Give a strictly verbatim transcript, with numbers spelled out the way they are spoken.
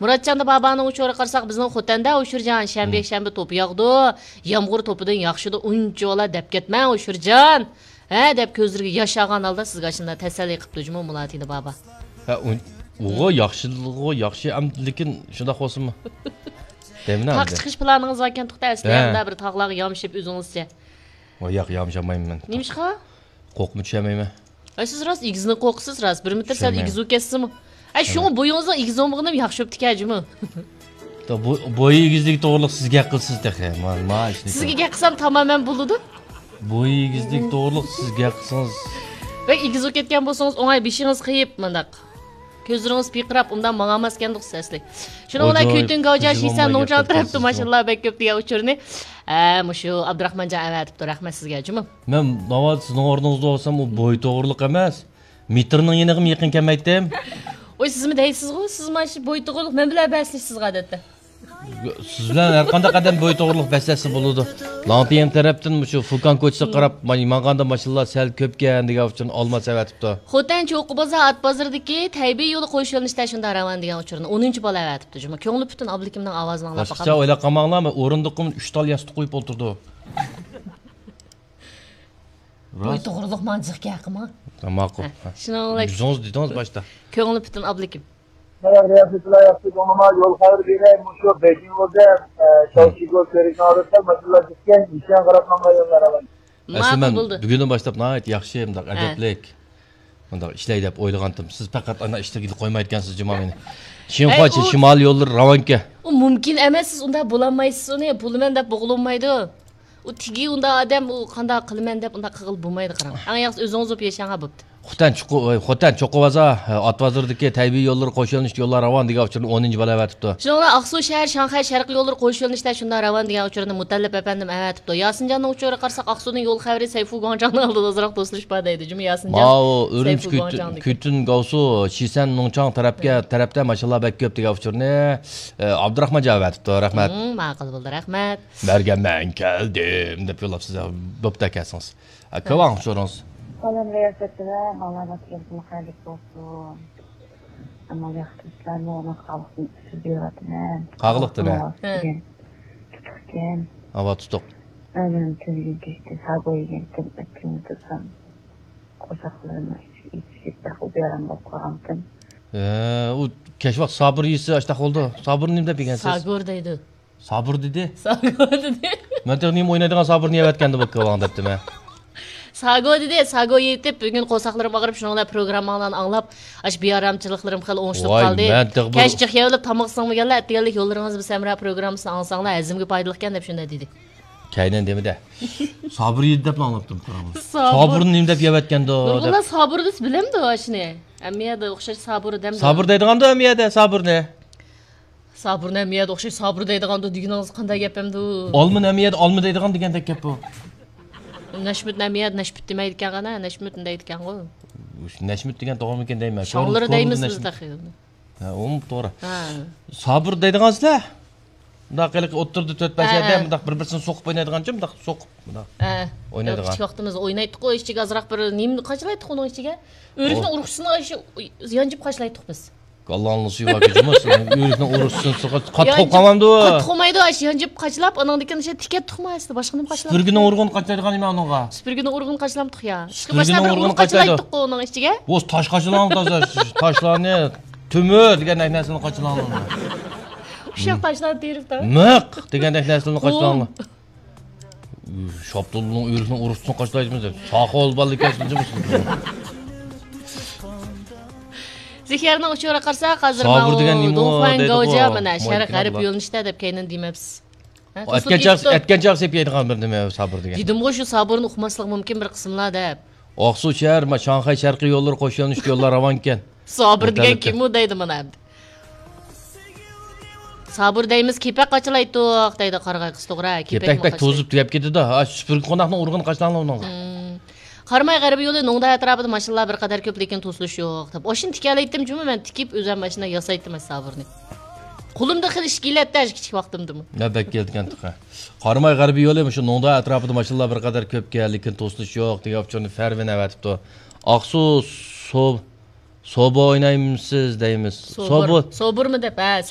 مۇراتجان بابانىڭ ئۇچۇرىغا قارىساق، بىزنىڭ خوتەندە ئۇچۇرجان، شەنبە، يەكشەنبە توپا ياغىدۇ. يامغۇر توپىدىن ياخشىدۇ، ئۇنچىۋالا دەپ كەتمەڭ ئۇچۇرجان. ھە، دەپ كۆزلىرىگە ياش ئالغان ھالدا سىزگە ئاشۇنداق تەسەللى قىپتۇ جۇمۇ مۇلاتىنى بابا. ھە، ئۇ-، ئۇغۇ ياخشىلىغۇ ياخشى، ئەم، لېكىن شۇنداق بولسىنمۇ؟ دەيمەن تاغ ئەمدى. چىقىش پىلانىڭىز باركەن توختاپ ئەسلى، ھە. ئەمدى بىر تاغلارغا يامىشىپ ئۆزىڭىزچە. ۋاي ياق، يامىشالمايمەن مەن. نېمىشقا؟ قورقۇپمۇ چۈشەلمەيمەن. ئە، سىز راست ئېگىزنى قورقىسىز، راست. بىر مېتىر سەل چۈشەلمەيمەن. ئېگىز بولۇپ كەتسىمۇ. ئە، شۇڭا بويىڭىزنىڭ ئېگىز بولمىغىنىمۇ ياخشى بوپتىكەن جۇمۇ. بوي ئېگىزلىكى توغرۇلۇق سىز گەپ قىلىسىز تېخى. ما، ما ئىشنى سىزگە گەپ قىلسام تامامەن بولىدۇ. بوي ئېگىزلىكى توغرۇلۇق سىز گەپ قىلسىڭىز. بەك ئېگىز بولۇپ كەتكەن بولسىڭىز، ئوڭاي بېشىڭىز قېيىپ مۇنداق. كۆزلىرىڭىز پىرقىراپ، ئۇنداق ماڭالماسكەندۇق سىز ئەسلى. شۇنىڭ بىلەن ئاجايىپ، كۈتۈن گاۋجا شىسەن نوڭچاڭ تەرەپتە ماشىنىلار بەك كۆپ دېگەن ئۇچۇرنى، ئە، مۇشۇ ئابدۇراخمانجان ئەۋەتىپتۇ، رەھمەت سىزگە جۇمۇ. مەن ناۋادا سىزنىڭ ئورنىڭىزدا بولسام، ئۇ بوي توغرۇلۇق ئەمەس، مېتىرنىڭ يېنىغىمۇ يېقىن كەلمەيتتىم. ۋوي، سىزمۇ دەيسىزغۇ، سىز مانا شۇ بوي توغرۇلۇق، مەن بىلەن بەسلىشىسىزغۇ ئادەتتە. سىز بىلەن ھەر قانداق ئادەم بوي توغرۇلۇق بەسلەشسە بولىدۇ. لاڭپىيىڭ تەرەپتىن مۇشۇ فۇكان كوچىسىغا قاراپ ماڭغاندا ماشىنىلار سەل كۆپكەن دېگەن ئۈچۈن ئالماس ئەۋەتىپتۇ. خوتەن چوققا بازار ئات بازىرىدىكى تەيبېي يولى قوش يۆنىلىشتە شۇنداق راۋان دېگەن ئۇچۇرنى ئونىنچى بالا ئەۋەتىپتۇ جۇمۇ. كۆڭلى پۈتۈن ئابلىكىمنىڭ ئاۋازىنى ئاڭلاپ باشقىچە باقامدۇ؟ ئويلاپ قالماڭلار، مەن ئورۇندۇققىمۇ ئۈچ تال ياستۇق قويۇپ ئولتۇردۇم. بوي توغرۇلۇق ماڭا جىق گەپ قىلماڭ. ماقۇل. ھە، شۇنىڭ بىلەن يۈزىڭىز دېدىڭىز باشتا. كۆڭلى پۈتۈن ئابلىكىم. باياق رىياسەتچىلەر ياخشى، بۇنىما يول خەۋىرى بېرەي، مۇشۇ بېيجىڭ يولدا، ئە، شاۋشىگو كۆرۈكنىڭ ئالدىدا ماشىنىلار كەتكەن، نىشان قاراپ ماڭغان يوللار ئاۋاي. ئەسلى ماقۇل مەن بولدى. بۈگۈندىن باشلاپ ناھايىتى ياخشى، مۇنداق ھە. ئەدەپلىك، مۇنداق ئىشلەي دەپ ئويلىغانتىم. سىز پەقەت ئانا ئىشلىرىگىلا قويمايدىكەنسىز جۇمۇ مېنى. ئەي، شىنخۇا ئۇ شىمالىي يوللىرى راۋانكەن. ئۇ مۇمكىن ئەمەس، سىز ئۇنداق بولالمايسىز، ئۇنى پۇلىمەن دەپ بوغۇلۇنمايدۇ. ئۇ تېگى ئۇنداق ئادەم، ئۇ قانداق قىلىمەن دەپ ئۇنداق قىلغىلى بولمايدۇ، قاراڭ. ئەڭ ياخشىسى ئۆزىڭىز بولۇپ ياشاڭا بوپتۇ. خوتەن چوققا، خوتەن چوققا بازار، ئات بازىرىدىكى تەيبېي يوللىرى قوش يۆنىلىشتە يوللار راۋان دېگەن ئۇچۇرنى ئونىنچى بالا ئەۋەتىپتۇ. شۇنىڭ بىلەن ئاقسۇ شەھەر شاڭخەي شەرقىي يوللىرى قوش يۆنىلىشتە شۇنداق راۋان دېگەن ئۇچۇرنى مۇتەللىپ ئەپەندىم ئەۋەتىپتۇ. ياسىنجاننىڭ ئۇچۇرىغا قارىساق، ئاقسۇدىن يول خەۋىرى سەيفۇ گۇاڭجاڭنىڭ ئالدىدا ئازراق توسۇلۇش بار دەيدۇ. جۇمۇ ياسىنجان. ماۋۇ ئۈرۈمچى سەيفۇ كۈتۈن، گۇاڭجاڭدىكى. كۈتۈن گاۋسۇ، شىسەن نۇڭچاڭ تەرەپكە، تەرەپتە ماشىنىلار بەك كۆپ دېگەن ئۇچۇرنى، ئە، ئابدۇراخمانجان ئەۋەتىپتۇ. رەھمەت. مم، ماقۇل بولدى، رەھمەت. بەرگەن مەن كەلدىم دەپ يوللاپسىز، بوپتۇ كەلسىڭىز. ئە، كاۋاڭ ئۇچۇرىڭىز. سالام رىياسەتچىلەر، بالىلار بەختىيارلىقى خەيرلىك بولسۇن. ئەمما ياخشى ئىشلارنى ئۇنىڭ قاغىلىقتىن ئۈستىدە بېرىۋاتىمەن. قاغىلىقتىن، ھە. قاغىلىق دېگەن تۇتۇقكەن. ئاۋا، تۇتۇق. ئەمەن تۈنۈگۈن كەچتە ساگو يېگەنتىم، ئەتىگەن تۇرسام، قورساقلىرىم ئېچىپ كېتىپ، بىراق ئۇ بىئارام بولۇپ قالغانتىم. ھە، ئۇ كەچ ۋاقىت سابۇر يېسە ئاشتاق بولىدۇ. سابۇر نېمە دەپ يېگەنسىز؟ ساگور دەيدۇ. سابۇر دېدى. ساگور دېدى. مەن تېخى نېمە ئوينايدىغان سابۇرنى يەۋەتكەندە بۇ كاۋاڭ دەپتىمەن. ساگو دېدى، ساگو يېتىپ، بۈگۈن قورساقلىرىم ئاغرىپ، شۇنىڭ بىلەن پروگرامماڭلارنى ئاڭلاپ، ئاشۇ بىئارامچىلىقلىرىم خېلى ئوڭشىلىپ قالدى. ۋاي، مەن تېخى بۇ كەچ جىق يەۋېلىپ تاماق سىڭمىگەنلەر، ئەتىگەنلىك يوللىرىڭىز بىلەن ھەمراھ پروگراممىسىنى ئاڭلىساڭلار، ھەزىمگە پايدىلىقكەن دەپ شۇنداق دېدى. كەينىدىن دېمىدى. سابۇر يېدى دەپلا ئاڭلاپتىم، قاراڭ. سابۇر. سابۇرنى نېمە دەپ يەۋەتكەندۇ دەپ. نۇرغۇنلار سابۇر دېسە بىلەمدۇ ئاشۇنى؟ ھەممە يەردە ئوخشاش سابۇر دەمدۇ. سابۇر دەيدىغاندۇ ھەممە يەردە سابۇرنى. سابۇرنى ھەممە يەردە ئوخشاش سابۇر دەيدىغاندۇ دېگىنىڭىز قانداق گەپ ئەمدۇ؟ ئالمىنى ھەممە يەردە ئالما دەيدىغان دېگەندەك گەپ بۇ. نەشمۇتنى ھەممە يەردە نەشپۈت دېمەيدىكەن غانا، نەشمۇتنى دەيدىكەنغۇ. نەشمۇت دېگەن توغرىمىكىن دەيمەن. شاڭلىرى دەيمىز بىز تېخى. ھە، ئۇمۇ توغرا. ھە. سابىر دەيدىغانسىلەر؟ مۇنداق ھېلىقى ئوتتۇرىدا تۆت-بەش ھە، يەردە ھە. مۇنداق بىر-بىرسىنى سوقۇپ ئوينايدىغانچۇ، مۇنداق سوقۇپ، مۇنداق ھە. ئوينايدىغان. كىچىك ۋاقتىمىزدا ئوينايتتۇققۇ، ئىچىگە ئازراق بىر نېمىنى قاچىلايتتۇق ئۇنىڭ ئىچىگە. ئۆرۈكنىڭ ئۇ ئۇرۇقچىسىنى شۇ يانجىپ قاچىلايتتۇق بىز. كاللاڭنى سۇيۇۋەتكۈچىمۇ، ئۆرۈكنىڭ ئۇرۇقچىسىنى سوقۇپ قاتتىق قوپقانمامدۇ؟ قاتتىق قوپمايدۇ، ئاشۇ يانجىپ قاچىلاپ، ئانىڭدىن كېيىن شۇ تىكەتتۇقمۇ ئەسلى، باشقا نېمە قاچىلاپ؟ سۈپۈرگىنىڭ ئۇرۇغىنى قاچىلايدىغان نېمە ئۇنىڭغا؟ سۈپۈرگىنىڭ ئۇرۇغىنى قاچىلامتۇق يا. سۈپۈرگىنىڭ ئۇرۇغىنى قاچىلايدۇ. قاچىلايتتۇققۇ ئۇنىڭ ئىچىگە. بولسا تاش قاچىلاڭ، تازا تاشلارنى، تۆمۈر دېگەندەك نەرسىنى قاچىلاڭ. ئۇششاق تاشلارنى تېرىپ تا. مىق دېگەندەك نەرسىنى قاچىلاڭ. شاپتۇلنىڭ ئۆرۈكنىڭ ئۇرۇقچىسىنى قاچىلايدىمىز دەپ. ساقىۋال بالىكەن شۇنچىمۇ. زىخيارنىڭ ئۇچۇرىغا قارىساق، ھازىر سابىر ماۋۇ دېگەن نېمە دۇڭخۇەن دەيدىغۇ؟ گاۋجيا مانا شەرق غەرب يۆنىلىشتە دەپ كەينىدىن دېمەپسىز. ھە، ئەتكەن چاغ، ئەتكەن چاغ سېپ يەيدىغان بىر نېمە سابىر دېگەن. دېدىمغۇ، شۇ سابىرنى ئۇقماسلىقى مۇمكىن بىر قىسىملار دەپ. ئاقسۇ شەھەر، ما، شاڭخەي شەرقىي يوللىرى قوش يۆنىلىشتە يوللار راۋانكەن. سابىر دېگەن كىم ئۇ دەيدۇ مانا ئەمدى. سابىر دەيمىز، كېپەك قاچىلايتتۇق دەيدۇ قارىغاي قىز، توغرا. كېپەك بەك توزۇپ تۈگەپ كېتىدۇ. ھا، سۈپۈرگە قوناقنىڭ ئۇرغىنى قاچىلاڭلار ئۇنىڭغا. ھىم. قاراماي غەربىي يولى نوڭدا ئەتراپىدا ماشىنىلار بىر قەدەر كۆپ، لېكىن توسۇلۇش يوق دەپ. ئاشۇنى تىكەلەيتتىم جۇمۇ، مەن تىكىپ ئۆزۈم ماشىنا ياسايتتىم ئاشۇ سابىرنى. قولۇمدا خېلى ئىش كېلەتتى ئاشۇ كىچىك ۋاقتىمدىمۇ. نۆۋەت كېلىدىكەن تېخى. قاراماي غەربىي يولى مۇشۇ نوڭدا ئەتراپىدا ماشىنىلار بىر قەدەر كۆپكەن، لېكىن توسۇلۇش يوق دېگەن ئۇچۇرنى فەرۋىن ئەۋەتىپتۇ. ئاقسۇ سوب-، سوبا ئوينايمسىز دەيمىز. سوبۇر. سوبۇر. سوبۇرمۇ دەپ، ھە،